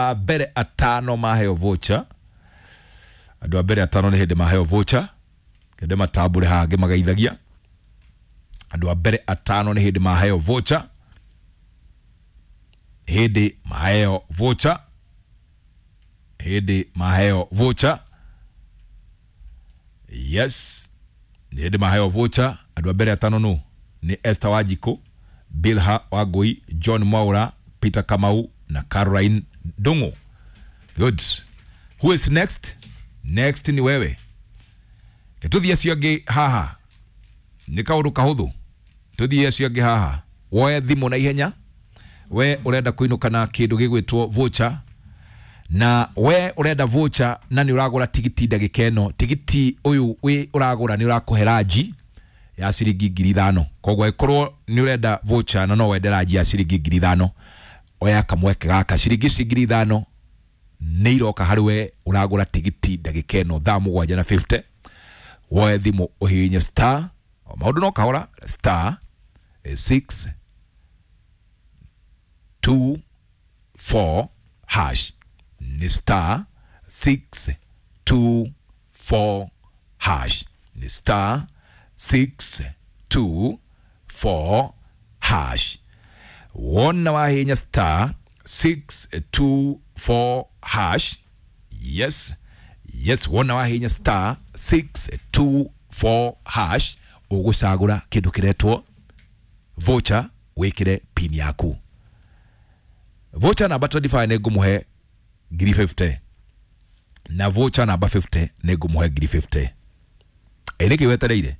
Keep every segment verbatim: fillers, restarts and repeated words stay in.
A mbere atano maheo voucher, andũ a mbere atano nĩ hĩndĩ maheo voucher, kende matambũre haha ngĩmageithagia. Andũ a mbere atano nĩ hĩndĩ maheo voucher, hĩndĩ maheo voucher, hĩndĩ maheo voucher. Yes, nĩ hĩndĩ maheo voucher. Andũ a mbere atano nũ? Nĩ Esther Wanjikũ, Bilha Wangui, John Mwaura, Peter Kamau na Caroline Ndung'u. Good. Who is next? Next ni wewe. Tũthiĩ acio angĩ haha, nĩ kaũndũ kahũthũ. Tũthiĩ acio angĩ haha, woe thimũ na ihenya. We ũrenda kũinũka na kĩndũ gĩgwĩtwo voucher, na we ũrenda voucher na nĩ ũragũra tigiti ndagĩka ĩno, tigiti ũyũ wĩ ũragũra nĩ ũrakũhe ranji ya ciringi ngiri ithano. Koguo ĩkorwo nĩ ũrenda voucher na no wende ranji ya ciringi ngiri ithano, oya kamweke gaka. Ciringi ici ngiri ithano nĩ iroka harĩ we ũragũra tigiti ndagĩka ĩno thaa mũgwanja na mĩrongo ĩtano. Woe thimũ, ũhihinye star, maũndũ no kahora, star six two four hash. Nĩ star six two four hash, nĩ star six two four hash. Wona wahinya star six two four hash, yes yes wona wahinya star six two four hash, ũgũcagũra kĩndũ kĩretwo voucher, wĩkĩre pin yaku. Voucher namba mĩrongo ĩĩrĩ na ithano nĩ ngũmũhe ngiri mĩrongo ĩtano, na voucher namba mĩrongo ĩtano nĩ ngũmũhe ngiri mĩrongo ĩtano. Ĩ nĩkĩ wetereire?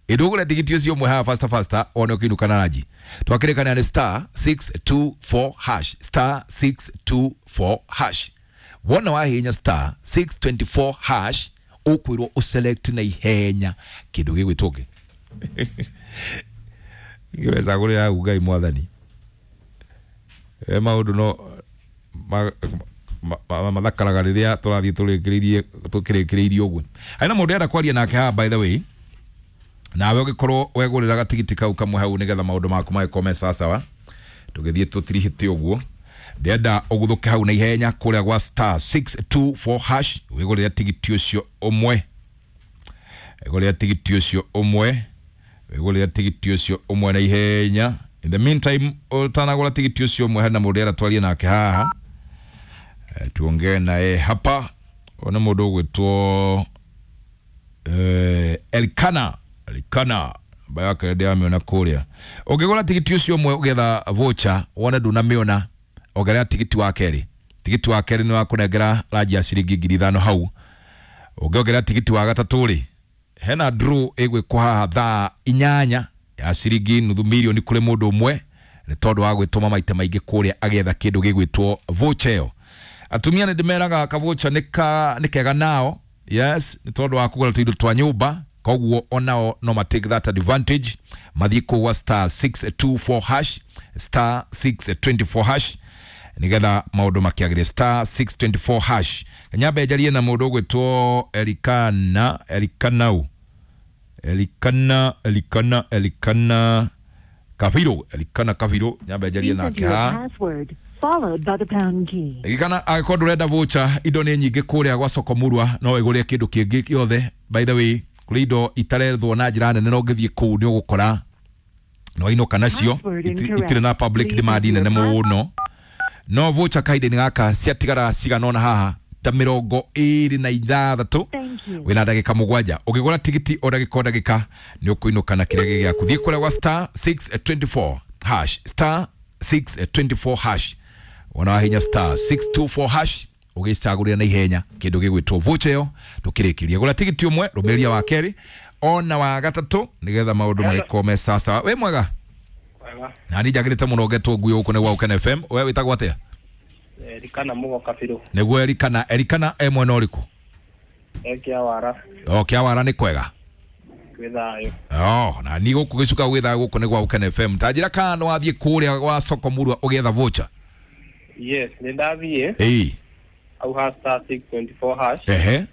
Ĩndũgũre tigiti ũcio ũmwe haha faster faster, wone ũkĩinũka na ranji. Twakĩrĩkania nĩ star six two four hash, star six two four hash. Wona wahinya star six two four hash, ũkwĩrwo ũselect na ihenya kĩndũ gĩgwĩtwo kĩ ngĩwecagũrĩra hau. Ngai mwathani, e maũndũ no ma- ma- ma- mathakaraga rĩrĩa tũrathiĩ tũrĩkĩrĩirie tũkĩrĩkĩrĩirie ũguo. Harĩ na mũndũ enda kwaria nake haha, by the way. Nawe ũgĩkorwo wegũrĩra gatigiti kau kamwe hau nĩgetha maũndũ maku magĩkorwo me sawasawa, tũgĩthiĩ tũtirihĩte ũguo, ndĩrenda ũguthũke hau na ihenya kũrĩa gwa star six two four hash, wĩgũrĩre tigiti ũcio ũmwe, wĩgũrĩre tigiti ũcio ũmwe, wĩgũrĩre tigiti ũcio ũmwe na ihenya. In the meantime, ũtanagũra tigiti ũcio ũmwe, hena mũndũ ĩrenda twarie nake haha. Eh, tuongee naye hapa. Ũyũ nĩ mũndũ ũgwĩtwo eh, Elkana. Elkana namba yake ndĩramĩona kũrĩa. Ũngĩgũra tigiti ũcio ũmwe ũgetha voucher, wone ndunamĩona, ongerera tigiti wa kerĩ. Tigiti wa kerĩ nĩ wakũnengera ranji ya ciringi ngiri ithano hau. Ũngĩongerera tigiti wa gatatũ rĩ, hena draw ĩgwĩkwo haha thaa inyanya ya ciringi nuthu milioni kũrĩ mũndũ ũmwe, nĩ tondũ wa gwĩtũma maita maingĩ kũrĩa agĩetha kĩndũ gĩgwĩtwo voucher ĩyo. Atumia nĩ ndĩmeraga kavocha nĩ ka nĩ kega nao, yes, nĩ tondũ wa kũgũra tũindo twa nyũmba. Koguo onao no ma take that advantage, mathiĩ kũu gwa star six two four hash, star six two four hash, nigetha maũndũ makĩagĩre. Star six two four hash. Nyambe njarie na mũndũ ũgwĩtwo Elikana. Elikanau, Elikana, Elikana, Elikana Kabiro, Elikana Kabiro, nyambe njarie Please nake enter your haha. password followed by the pound key. Ririkana, angĩkorwo ndũrenda voucher, indo nĩ nyingĩ kũrĩa gwa soko murwa, no wĩgũrĩre kĩndũ kĩngĩ gĩothe. By the way, kũrĩ indo itarethwo na njĩra nene, no ũngĩthiĩ kũu nĩ ũgũkora no wainũka nacio. Password Iti- incorrect. itirĩ na public Please demand enter nene your mũno, no voucher kahinda-inĩ gaka ciatigara cigana ũna haha ta mĩrongo ĩrĩ na ithathatũ. Thank you. Wĩna ndagĩka mũgwanja. Ũngĩgũra tigiti o ndagĩka o ndagĩka, nĩ ũkũinũka na kĩrĩa gĩ gĩaku. Thiĩ kũrĩa gwa star six two four hash, star six two four hash. Wona wahinya star six two four hash, ũgĩcagũrĩra na ihenya kĩndũ gĩgwĩtwo voucher ĩyo. Tũkĩrĩkĩria, gũra tigiti ũmwe, rũmĩrĩria wa kerĩ ona wa gatatũ, nĩgetha maũndũ magĩkorwo me sawasawa. Wĩ mwega? Wega. Na niĩ njagĩrĩte mũno. Ngetwo ngui gũkũ nĩ gwa Ũkene F M. We wĩtagwo atĩa? Erikana Mugo Kabiro. Nĩguo Erikana. Erikana e mwena ũrĩkũ? Ekia wara. O kĩawara nĩ kwega? Gwĩ thayũ. Oh, na ni gũkũ gĩcuka gwĩtha gũkũ nĩ gwa Ũkene F M. Ta njĩra kana nĩ wathiĩ kũrĩa gwa soko murwa ũgĩetha voucher. Yes, nĩ ndathiĩ Ĩĩ. au ha star six two four hash. Ehe.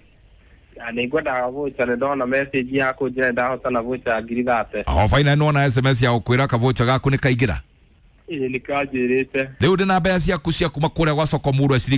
Na nĩ ngwendaga voucher, nĩ ndona message ya kũnjĩra nĩ ndahotana voucher ya ngiri thate. O finally nĩwona S M S ya gũkwĩra ka voucher gaku nĩ kaingĩra. Ĩĩ nĩkĩo anjĩrĩte. Rĩu ndĩna mbeca ciaku cia kuma kũrĩa gwa soko murwa.